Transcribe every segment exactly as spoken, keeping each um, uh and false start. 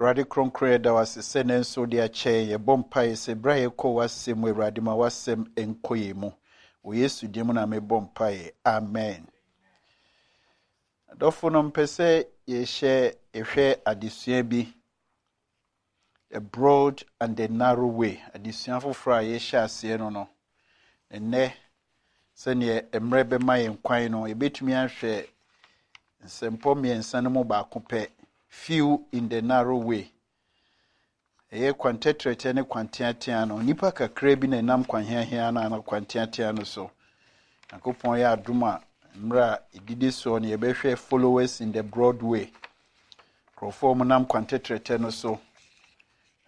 Awurade kronkron, yɛda wo ase sɛ nnɛ nso wode akyɛ yɛn. Yɛbɔ mpaeɛ sɛ berɛ a yɛkɔ w'asɛm mu, Awurade, ma w'asɛm nkɔ yɛn mu. Wɔ Yesu din mu na mebɔ mpaeɛ. Amen. Adɔfo no, mpɛ sɛ yɛhyɛ yɛhwɛ adesua bi, The Broad and the Narrow Way, adesua foforɔ a yɛhyɛ aseɛ no no. Nnɛ, sɛdeɛ mmerɛ bɛma yɛn kwan no, yɛbɛtumi ahwɛ nsɛmpɔ mmiɛnsa no mu baako pɛ, Few in the Narrow Way. Ɛyɛ kwan tɛtrɛtɛ ne kwan teatea no, nnipa kakra bi na ɛnam kwan heahea no anaa kwan teatea no so. Nyankopɔn yɛ adom a, mmerɛ a ɛdidi soɔ no, yɛbɛhwɛ Followers in the Broad Way, nkurɔfoɔ a wɔnam kwan tɛtrɛtɛ no so.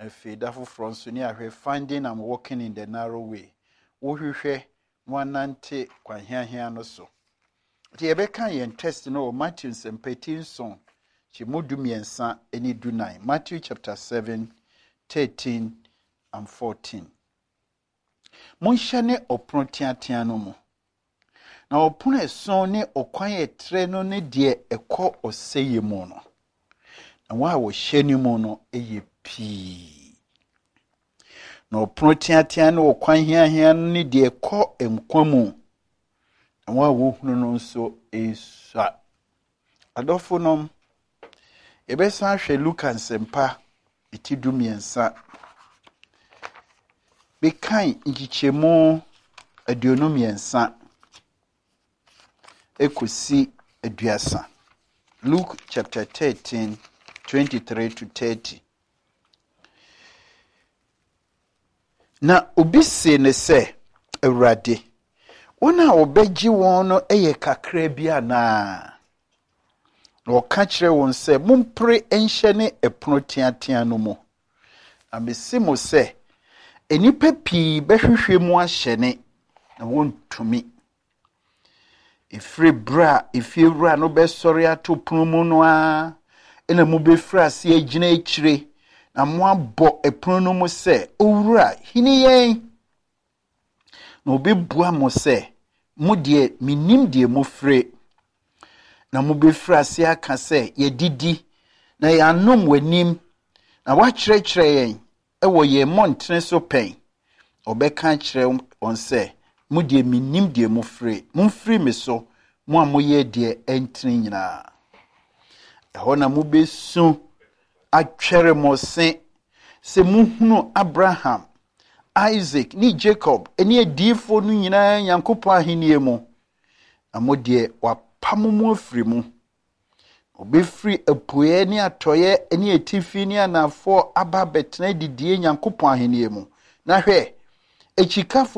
Afei da foforɔ nso ne ahwɛ Finding and Walking in the Narrow Way, wohwehwɛ na wanante kwan heahea no so. Nti yɛbɛka yɛn text no wɔ Matthew nsɛmpa ti nson kyɛmu du mmiɛnsa ne du nan, Matthew chapter seven, thirteen and fourteen. Monhyɛne ɔpono teatea no mu, na ɔpono ɛson ne ɔkwan ɛtrɛ no ne deɛ ɛkɔ ɔsɛeɛ mu no, na wɔn a wɔhyɛ no mu no yɛ pii. Na ɔpono teatea ne ɔkwan heahea no ne deɛ ɛkɔ nkwa mu, na wɔn a wɔhunu no nso esua. Adɔfo nom, yɛbɛsan ahwɛ Luka nsɛmpa eti du mmiɛnsa. Mekan nkyekyɛmu aduonu mmiɛnsa ekosi aduasa. Luke chapter thirteen, twenty-three to thirty. Na obi see ne sɛ, Awurade, wɔn a wɔbɛgye wɔn no yɛ kakra bi anaa? Na ɔka kyerɛ wɔn sɛ, mompere nhyɛne ɛpono teatea no mu. Na mese mo sɛ, nnipa pii bɛhwehwɛ mu ahyɛne, na wɔntumi. Ɛfiri berɛ a efiewura no bɛsɔre ato pono mu no ara, ɛna mobɛfiri ase agyina akyire, na moabɔ ɛpono no mu sɛ, Owura, hini yɛn. Na obɛbua mo sɛ, mo deɛ, mennim deɛ mofire. Na mobɛfiri ase aka sɛ, yɛdidi, na yɛanom w'anim, na woakyerɛkyerɛ yɛn ɛwɔ yɛn mmɔntene so pɛn. Ɔbɛka akyerɛ wɔn sɛ, mo deɛ, mennim deɛ mofire. Momfiri me so, mo a moyɛ deɛ ɛntene nyinaa. Ɛhɔ na mobɛsu atwɛre mo se sɛ muhunu Abraham, Isaac ne Jacob ne adiyifoɔ no nyinaa Nyankopɔn ahennie mu, na mo deɛ, wapam mo afiri mu. Obɛfiri apueɛ ne atɔeɛ ne atifi ne anafoɔ aba abɛtena adidie Nyankopɔn ahennie mu. Na hwɛ, akyikafoɔ